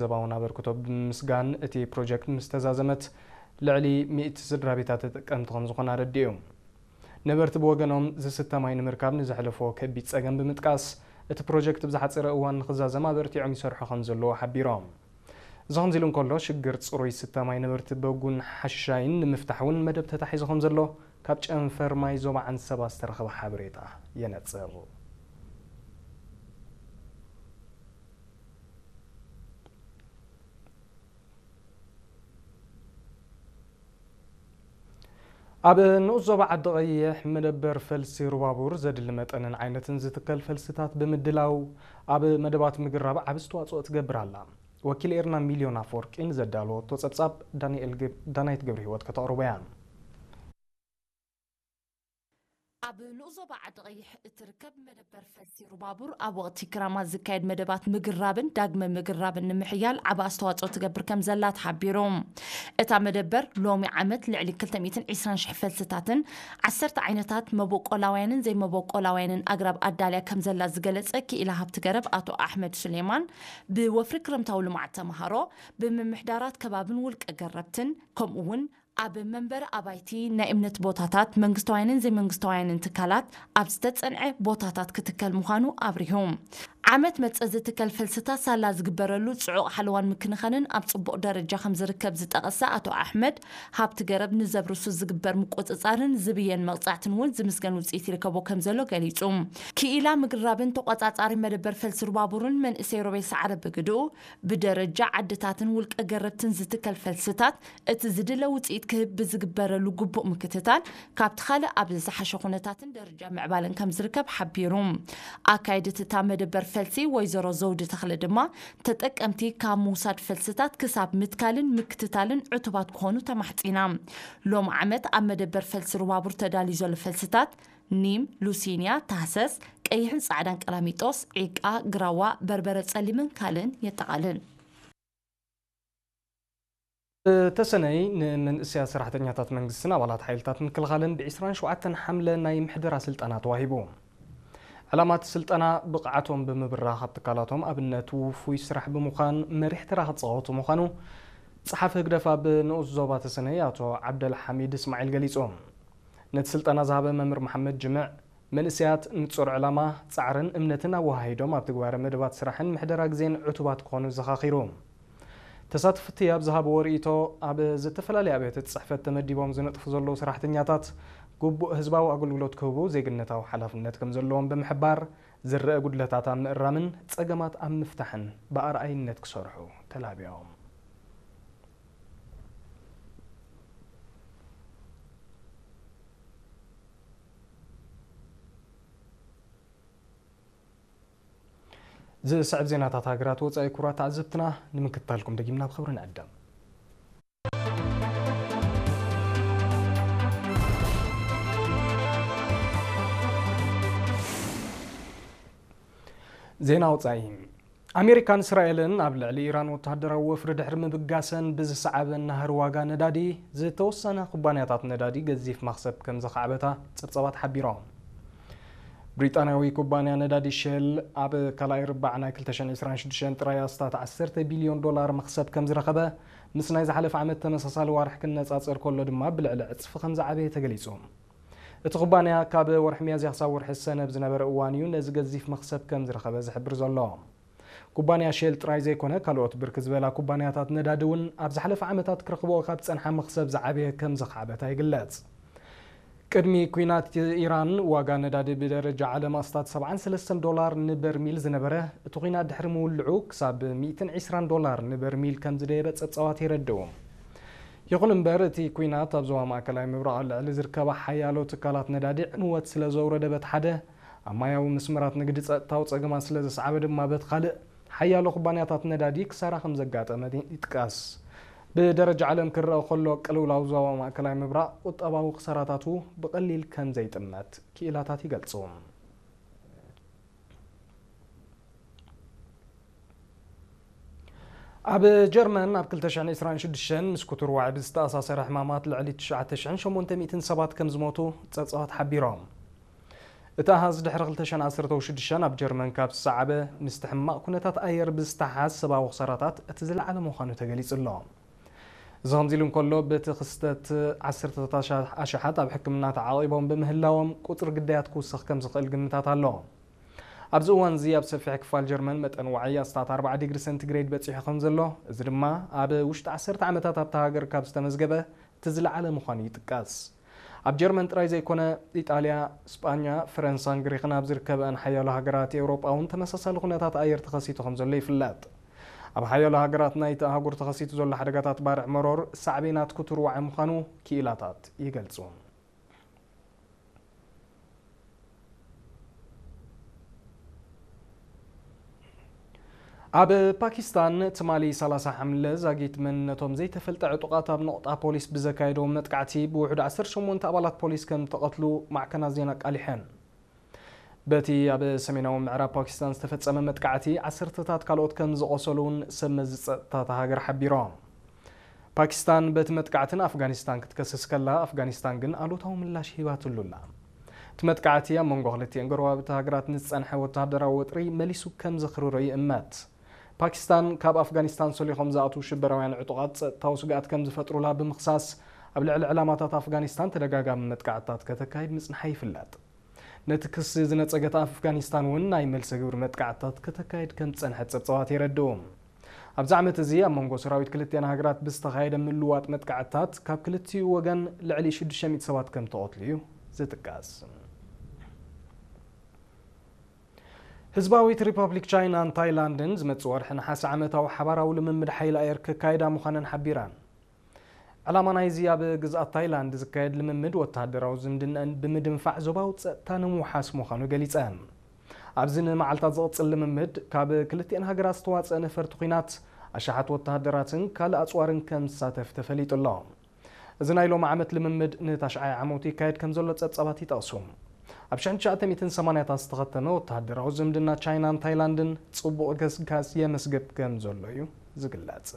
ዘባውን ኣበርክቶ ብምምስጋን፣ እቲ ፕሮጀክት ምስ ተዛዘመት ልዕሊ ሚእቲ ስድራ ቤታት ተጠቀምቲ ከም ዝኾና ኣረዲኡ። ነበርቲ ብወገኖም፣ ዝስተ ማይ ንምርካብ ንዘሕለፎ ከቢድ ጸገም ብምጥቃስ፣ እቲ ፕሮጀክት ብዝሓጸረ እዋን ንኽዛዘም ኣበርቲዖም ይሰርሑ ከም ዘለዉ ሓቢሮም። እዚ ከምዚ ኢሉ እንከሎ፣ ሽግር ጽሩይ ዝስተ ማይ ነበርቲ በጉን ሓሽሻይን ንምፍታሕ እውን መደብ ተታሒዙ ከም ዘሎ ካብ ጨንፈር ማይ ዞባ ዓንሰባ ዝተረኸበ ሓበሬታ የነጽር። ኣብ ንኡስ ዞባ ዓዲ ቀይሕ መደበር ፈልሲ ሩባቡር ዘድሊ መጠንን ዓይነትን ዝትከል ፈልስታት ብምድላው ኣብ መደባት ምግራብ ዓቢ ኣስተዋጽኦ ትገብር ኣላ። ወኪል ኤርና ሚልዮን ኣፈወርቂ ንዘዳለወቶ ጸብጻብ ዳንኤል ግብ-፣ ዳናይት ገብረ ህይወት ከተቕርቦ እያ። ኣብ ንኡስ ዞባ ዓዲ ቀይሕ እትርከብ መደበር ፈልሲ ሩባቡር ኣብ ወቕቲ ክራማት ዝካየድ መደባት ምግራብን ዳግመ ምግራብን ንምሕያል ዓቢ ኣስተዋጽኦ ትገብር ከም ዘላ ተሓቢሩ። እታ መደበር ሎሚ ዓመት ልዕሊ ክልተ ሚእትን ዕስራን ሽሕ ፈልስታትን ዓሰርተ ዓይነታት መበቆላውያንን ዘይመበቆላውያንን ኣግራብ ኣዳልያ ከም ዘላ ዝገለጸ ክኢላ ሃብቲ ገረብ ኣቶ ኣሕመድ ሱሌማን፣ ብወፍሪ ክረምታዊ ልምዓት ተምሃሮ፣ ብምምሕዳራት ከባብን ውልቀ ገረብትን፣ ከምኡ እውን ኣብ መንበሪ ኣባይቲ፣ ናይ እምነት ቦታታት፣ መንግስታውያንን ዘይመንግስታውያንን ትካላት ኣብ ዝተጸንዐ ቦታታት ክትከል ምዃኑ ኣብሪሁ። ዓመት መጸ ዝትከል ፈልስታት ሳላ ዝግበረሉ ጽዑቕ ሓለዋን ምክንኻንን ኣብ ጽቡቕ ደረጃ ከም ዝርከብ ዝጠቐሰ ኣቶ ኣሕመድ፣ ሃብቲ ገረብ ንዘብርሱ ዝግበር ምቁጽጻርን ዝብየን መቕጻዕትን እውን ዝምስገን ውጽኢት ይርከቦ ከም ዘሎ ገሊጹ። ክኢላ ምግራብን ተቖጻጻሪ መደበር ፈልሲ ሩባቡርን መንእሰይ ሮቤል ሰዓረ ብግድኡ፣ ብደረጃ ዓድታትን ውልቀ ገረብትን ዝትከል ፈልስታት እቲ ዝድለ ውጽኢት ክህብ ብዝግበረሉ ግቡእ ምክትታል፣ ካብቲ ካልእ ኣብ ዝሓሸ ኩነታትን ደረጃ ምዕባለን ከም ዝርከብ ሓቢሩ። ኣካይድት እታ መደበር ፈልሲ ወይዘሮ ዘውዲ ተኽለ ድማ፣ ተጠቀምቲ ካብ ምውሳድ ፈልስታት ክሳብ ምትካልን ምክትታልን ዕቱባት ክኾኑ ተማሕጺና። ሎም ዓመት ኣብ መደበር ፈልሲ ሩባቡር ተዳልዩ ዘሎ ፈልስታት ኒም፣ ሉሲንያ፣ ታህሰስ፣ ቀይሕን ጻዕዳን ቀላሚጦስ፣ ዒቃ፣ ግራዋ፣ በርበረ ጸሊምን ካልእን የጠቓልል። ተሰነይ ንመንእሰያት ሰራሕተኛታት መንግስትን ኣባላት ሓይልታት ምክልኻልን ብ ዕስራን ሸውዓተን ሓምለ ናይ ምሕደራ ስልጠና ተዋሂቡ። ዕላማ እቲ ስልጠና፣ ብቕዓቶም ብምብራኽ ኣብ ትካላቶም ኣብነት ውፉይ ስራሕ ብምዃን መሪሕ ተራ ክጻወቱ ምዃኑ ጸሓፊ ህግደፍ ኣብ ንኡስ ዞባ ተሰነይ ኣቶ ዓብደል ሓሚድ እስማዒል ገሊጹ። ነቲ ስልጠና ዝሃበ መምህር መሓመድ ጅምዕ፣ መንእሰያት ንጹር ዕላማ፣ ጻዕርን እምነትን ኣወሃሂዶም ኣብ ትግባረ መደባት ስራሕን ምሕደራ ግዜን ዕቱባት ክኾኑ ዘኻኺሩ። ተሳተፍቲ ኣብ ዝሃብዎ ርእይቶ፣ ኣብ ዝተፈላለያ ኣብያተ ጽሕፈት ተመዲቦም ዝነጥፉ ዘለዉ ሰራሕተኛታት፣ ግቡእ ህዝባዊ ኣገልግሎት ክህቡ ዜግነታዊ ሓላፍነት ከም ዘለዎም ብምሕባር፣ ዝረአ ጉድለታት ኣብ ምእራምን ጸገማት ኣብ ምፍታሕን ብኣርኣይነት ክሰርሑ ተላብዮም። ዝስዕብ ዜናታት ሃገራት ወጻኢ፣ ክቡራት ተዓዘብትና፣ ንምክትታልኩም ደጊምና ብኽብሪ ንዕደም። ዜና ወጻኢ። ኣሜሪካን እስራኤልን ኣብ ልዕሊ ኢራን ወተሃደራዊ ወፍሪ ድሕሪ ምብጋሰን ብዝሰዓበ ናህሪ ዋጋ ነዳዲ፣ ዝተወሰነ ኩባንያታት ነዳዲ ገዚፍ መኽሰብ ከም ዘኻዕበታ ጸብጻባት ሓቢሮም። ብሪጣንያዊ ኩባንያ ነዳዲ ሼል ኣብ ካልኣይ ርባዕ ናይ ክልተ ሽሕን ዕስራን ሽዱሽተን ጥራይ ኣስታት ዓሰርተ ቢልዮን ዶላር መኽሰብ ከም ዝረኸበ፣ ምስ ናይ ዝሓለፈ ዓመት ተመሳሳሊ ዋርሕ ክነጻጸር ከሎ ድማ ብልዕሊ ዕጽፊ ከም ዝዓበየ ተገሊጹ። እቲ ኩባንያ ካብ ወርሒ ሚያዝያ ክሳብ ወርሒ ሰነ ኣብ ዝነበረ እዋን እዩ ነዚ ገዚፍ መኽሰብ ከም ዝረኸበ ዝሕብር ዘሎ። ኩባንያ ሼል ጥራይ ዘይኮነ፣ ካልኦት ብርክት ዝበላ ኩባንያታት ነዳዲ እውን ኣብ ዝሓለፈ ዓመታት ክረኽብኦ ካብ ዝጸንሓ መኽሰብ ዝዓበየ ከም ዘኻዕበታ ይግለጽ። ቅድሚ ኲናት ኢራን፣ ዋጋ ነዳዲ ብደረጃ ዓለም ኣስታት ሰብዓን ሰለስተን ዶላር ንበርሚል ዝነበረ፣ እቲ ኲናት ድሕሪ ምውልዑ ክሳብ ሚእትን ዕስራን ዶላር ንበርሚል ከም ዝደየበ ጸብጻባት የረድኡ። ይኹን እምበር፣ እቲ ኲናት ኣብ ዞባ ማእከላይ ምብራቕ ኣብ ልዕሊ ዝርከባ ሓያሎ ትካላት ነዳዲ ዕንወት ስለ ዘውረደ በቲ ሓደ፣ ኣብ ማያዊ መስመራት ንግዲ ጸጥታዊ ጸገማት ስለ ዘስዓበ ድማ በቲ ካልእ፣ ሓያሎ ኩባንያታት ነዳዲ ክሳራ ከም ዘጋጠመ ይጥቀስ። ብደረጃ ዓለም ክረአ ከሎ፣ ቅልውላው ዞባ ማእከላይ ምብራቕ ቁጠባዊ ክሳራታቱ ብቐሊል ከም ዘይጥመት ክኢላታት ይገልጹ። ኣብ ጀርመን ኣብ ክልተ ሽሕን ዕስራን ሽዱሽተን ምስ ክቱር ዋዒ ብዝተኣሳሰረ ሕማማት ልዕሊ ትሽዓተ ሽሕን ሸሞንተ ሚእትን ሰባት ከም ዝሞቱ ጸብጻባት ሓቢሮም። እቲ ኣሃዝ ድሕሪ ክልተ ሽሕን ዓሰርተ ሽዱሽተን ኣብ ጀርመን ካብ ዝሰዓበ ምስቲ ሕማቕ ኩነታት ኣየር ብዝተሓዝ ሰብኣዊ ክሳራታት እቲ ዝለዓለ ምዃኑ ተገሊጹ ኣሎ። እዚ ከምዚ ኢሉ እንከሎ፣ በቲ ክስተት ዓሰርተታት ኣሻ-፣ ኣሽሓት ኣብ ሕክምና ተዓቒቦም ብምህላዎም ቁጽሪ ግዳያት ክውስኽ ከም ዝኽእል ግምታት ኣሎ። ኣብዚ እዋን እዚ ኣብ ሰፊሕ ክፋል ጀርመን መጠን ዋዒ ኣስታት ኣርባዓ ዲግሪ ሰንቲግሬድ በጺሑ ከም ዘሎ፣ እዚ ድማ ኣብ ውሽጢ ዓሰርተ ዓመታት ኣብታ ሃገር ካብ ዝተመዝገበ እቲ ዝለዓለ ምዃኑ ይጥቀስ። ኣብ ጀርመን ጥራይ ዘይኮነ፣ ኢጣልያ፣ ስጳኛ፣ ፈረንሳን ግሪኽን ኣብ ዝርከበኣን ሓያሎ ሃገራት ኤውሮጳ እውን ተመሳሳሊ ኩነታት ኣየር ተኸሲቱ ከም ዘሎ ይፍለጥ። ኣብ ሓያሎ ሃገራት ናይቲ ኣህጉር ተኸሲቱ ዘሎ ሓደጋታት ባርዕ መሮር ሳዕቤናት ክቱር ዋዒ ምዃኑ ክኢላታት ይገልጹ። ኣብ ፓኪስታን ትማሊ ሰላሳ ሓምለ ዛጊት መንነቶም ዘይተፈልጠ ዕጡቓት ኣብ ነቑጣ ፖሊስ ብዘካየዶ መጥቃዕቲ ብውሑድ ዓሰርተ ሸሞንተ ኣባላት ፖሊስ ከም ተቐትሉ ማዕከናት ዜና ኣቃሊሐን። በቲ ኣብ ሰሜናዊ ምዕራብ ፓኪስታን ዝተፈጸመ መጥቃዕቲ ዓሰርተታት ካልኦት ከም ዝቖሰሉ እውን ሰብ መዚ ጸጥታ እታ ሃገር ሓቢሮም። ፓኪስታን በቲ መጥቃዕቲ ንኣፍጋኒስታን ክትከስስ ከላ፣ ኣፍጋኒስታን ግን ኣሉታዊ ምላሽ ሂባትሉ ኣላ። እቲ መጥቃዕቲ ኣብ መንጎ ክልቲኤን ጎረባብቲ ሃገራት ንዝጸንሐ ወተሃደራዊ ወጥሪ መሊሱ ከም ዘኽርሮ ይእመት። ፓኪስታን ካብ ኣፍጋኒስታን ሰሊኾም ዝኣትዉ ሽበራውያን ዕጡቓት ጸጥታዊ ስግኣት ከም ዝፈጥሩላ ብምኽሳስ፣ ኣብ ልዕሊ ዕላማታት ኣፍጋኒስታን ተደጋጋሚ መጥቃዕትታት ከተካይድ ምጽንሓ ይፍለጥ። ነቲ ክሲ ዝነጸገት ኣፍጋኒስታን እውን ናይ መልሰ ግብሪ መጥቃዕትታት ከተካይድ ከም ዝጸንሐት ጸብጻባት የረድኡ። ኣብዚ ዓመት እዚ ኣብ መንጎ ሰራዊት ክልቲኣን ሃገራት ብዝተኻየደ ምልውዋጥ መጥቃዕትታት ካብ ክልቲኡ ወገን ልዕሊ ሽዱሽተ ሚእቲ ሰባት ከም ተቐትሉ እዩ ዝጥቀስ። ህዝባዊት ሪፓብሊክ ቻይናን ታይላንድን ዝመጽእ ወርሒ ነሓሰ ዓመታዊ ሓባራዊ ልምምድ ሓይሊ ኣየር ከካይዳ ምዃነን ሓቢረን። ዕላማ ናይዚ ኣብ ግዝኣት ታይላንድ ዝካየድ ልምምድ ወተሃደራዊ ዝምድናን ብምድንፋዕ ዞባዊ ጸጥታ ንምውሓስ ምዃኑ ገሊጸን። ኣብዚ ንመዓልታት ዝቕጽል ልምምድ ካብ ክልቲኤን ሃገራት ዝተዋጸአ ነፈርቲ ኲናት፣ ኣሽሓት ወተሃደራትን ካልእ ኣጽዋርን ከም ዝሳተፍ ተፈሊጡ ኣሎ። እዚ ናይ ሎሚ ዓመት ልምምድ ንታሽዓይ ዓመቱ ይካየድ ከም ዘሎ ጸብጻባት ይጠቕሱ። ኣብ ሽሕን ትሽዓተ ሚእትን ሰማንያታት ዝተኸተመ ወተሃደራዊ ዝምድና ቻይናን ታይላንድን ጽቡቕ ገስጋስ የመስግብ ከም ዘሎ እዩ ዝግለጽ።